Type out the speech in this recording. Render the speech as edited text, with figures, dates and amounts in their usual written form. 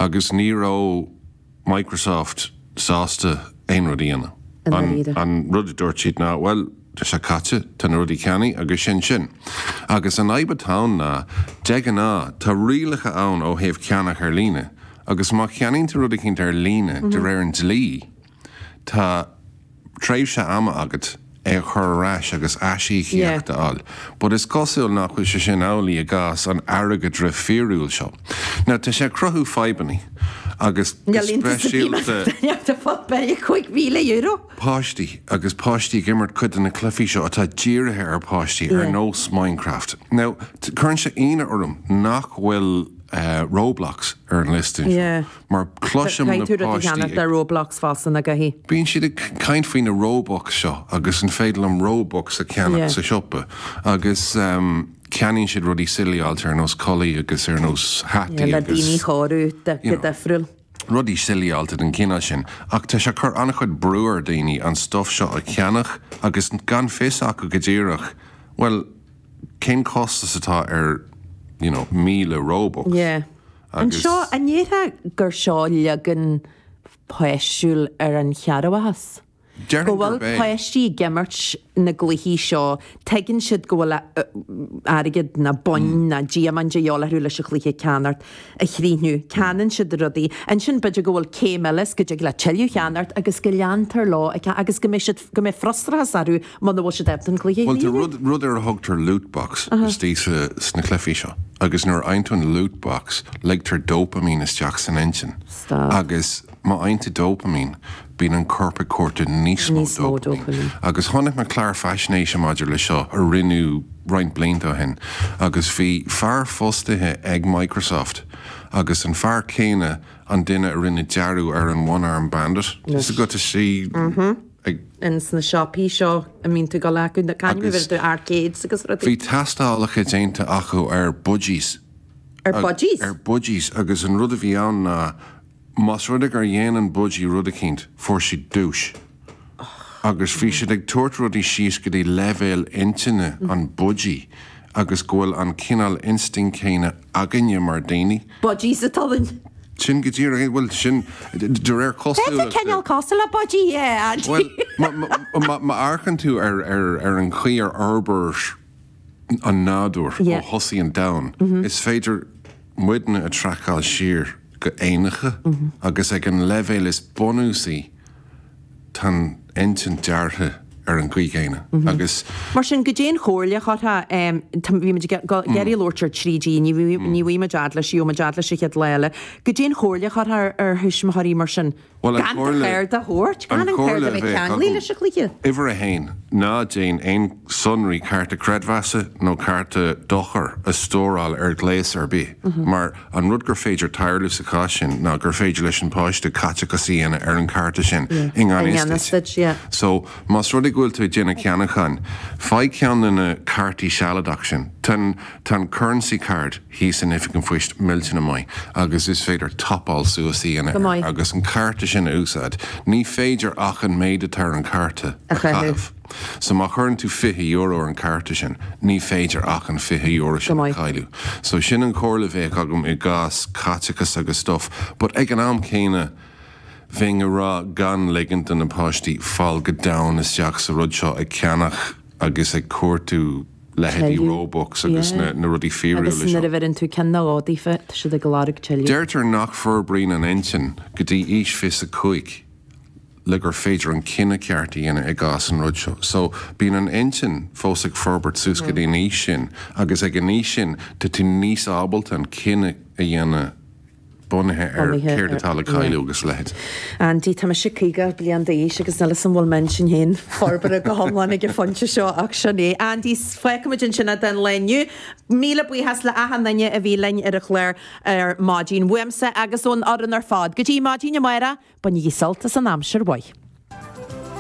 Agus ní raibh Microsoft sásta aon rud a dhéanamh. An rud a dúirt siad ná, bhuel, tá sé caite, tá na rudaí ceannaithe agus sin sin. Agus an fhadhb atá ann ná, de ghnáth, tá rialacha ann ó thaobh ceannach ar líne. Agus má cheannaíonn tú rud eicínt ar líne, de réir an dlí, tá tréimhse ama agat é a chur ar ais agus aisíocaíocht a fháil. But is cosúil nach bhfuil sé sin amhlaidh i gcás an airgeadra fíorúil seo. Now tá sé ag cruthú fadhbannaí agus go speisialta páistí agus páistí ag imirt cuid de na cluichí seo atá dírithe ar pháistí ar nós Minecraft. Now cuireann sé ionadh orm nach bhfuil Roblox ar an liosta anseo. Mar cloisim na Caithfidh tú rud a páistí cheannacht ag. ar Roblox fosta na gcaithfidh. Bíonn siad ag caint faoi na Robux seo agus an féidir liom Robux a cheannach Yeah. sa siopa agus ceannaíonn siad rudaí silly-áilte ar nós culaith agus ar nós hataí Yeah, le agus daoine a chóiriú you go know, difriúil. rudaí silly-áilte den chineál sin. Ach tá sé ag cur an-chuid brú ar dhaoine an stuff seo a cheannach agus gan fios acu go díreach, bhuel, cén costas atá ar you know, 1,000 Robux? Yeah. Agus. Anseo, an ndéarfá gur seo leagan páistiúil ar an chearrbhachas? Déarfainn Go bhfuil gurb é. páistí ag imirt na gcluichí seo, tuigeann siad go bhfuil airgead ná boinn ná diamaint de dhíobháil orthu leis an chluiche a cheannacht, a chríochnú. Ceannaíonn siad rudaí. Ansin b'fhéidir go bhfuil céim eile is go dtig leat tuilleadh a cheannacht agus go leantar leo ag agus go mbeidh siad, go mbeidh frustrachas orthu muna bhfuil siad ábalta an cluiche a Bhuel, tá chríochnú. rud, rud ar a thugtar loot box istigh sa, sna cluichí seo. Agus nuair a fhaigheann tú an loot box, ligtear dopamine isteach san intinn. Stop. Agus má fhaigheann tú dopamine, bíonn an corp ag cuartú níos mó Níos mó dopamine. dopamine. Agus chonaic mé clár faisnéise maidir le seo a rinneadh roinnt blianta ó shin. Agus bhí fear fostaithe ag Microsoft agus an fear céanna an duine a rinne dearadh ar an One Arm Bandit. Tá a fhios agat istigh ag. ins na siopaí seo a mbíonn tú ag dul acu, na Agus bhfuil tú arcades agus rudaí. bhí tástálacha déanta acu ar budgies. Ar budgies? Ar budgies agus an rud a bhí ann ná más rud é gur dhéan an budgie rud eicínt, fuair siad duais. Agus bhí siad ag tabhairt rudaí síos go dtí leibhéal intinne an budgie agus go bhfuil an cineál instinct céanna againne mar daoine. Budgies atá ann. Sin go díreach é. Bhuel, sin de réir cosúlachta. B'fhéidir cineál cosúil le budgie, yeah, Andy. Bhuel, má amharcann tú ar an chaoi ar fhorbair an nádúr ó thosaigh an domhan, is féidir muidne a traiceáil siar go éanacha agus ag an leibhéal is bunúsaí, Tá an intinn deartha ar an gcaoi chéanna agus. Mar sin, goidé an chomhairle a chuirfeá, bhí muid ag iarraidh labhairt ar 3G, ní bhfaighidh muid fhad leis, gheobhaidh muid fhad leis an chéad lá eile. Goidé an chomhairle a chuirfeá ar thuismitheoirí mar sin? Bhuel, an Gan do chomhairle, chárta a thabhairt, an gan an chomhairle cárta a a bheith bheadh ceanglaithe agam, leis an chluiche. uimhir a haon, ná déan aon sonraí cárta creidmheasa nó cárta dochair a stóráil ar ghléas ar bith mar An rud gur féidir tarlú sa chás sin ná gur féidir leis an páiste caiteachas a dhéanamh ar an cárta sin i ngan fhios duit. So, más rud é go bhfuil tú ag déanamh ceannacháin, faigh ceann de na cártaí sealadach sin. Tá an, tá an currency card thíos in Oifig an Phoist millteanach maith agus is féidir topáil suas a dhéanamh air agus an cárta sin a úsáid. Ní féidir ach an méid atá ar an cárta a chaitheamh. So má chuireann tú €20 ar an cárta sin, ní féidir ach an €20 Go sin a maith. chailleadh. So sin an chomhairle a bheadh agam i gcás caiteachas agus stuff. But ag an am céanna, bheinn ag rá gan ligint do na páistí fáil go domhain isteach sa rud seo ag ceannach agus ag cuartú leithéidí Tuilleadh. Robux agus Yeah. na na rudaí fíorúla Agus nuair seo. a bheireann tú ceann nó dhó daofa, tá siad ag lorg tuilleadh. Deirtear nach forbraíonn an intinn go dtí aois 25. le gur féidir an cinneadh ceart a dhéanamh i gcás an rud seo. So, bíonn an intinn fós ag forbairt suas go dtí an aois sin agus ag an aois sin tá tú níos ábalta an cinneadh a dhéanamh bunaithe ar céard atá le cailleadh agus a leithéid. Andy, tá mise 50 bliain d'aois agus níl 'fhios a'm an bhfuil m'intinn féin forbartha go hiomlán ag an phointe seo ach sin é. Andy, fágfaimid ansin é don lá inniu. Míle buíochas le achan duine a bhí linn ar an chlár ar maidin. Uaimse agus ón fhoireann ar fad. Go dtí maidin amárach, Bainigí sult as an aimsir mhaith.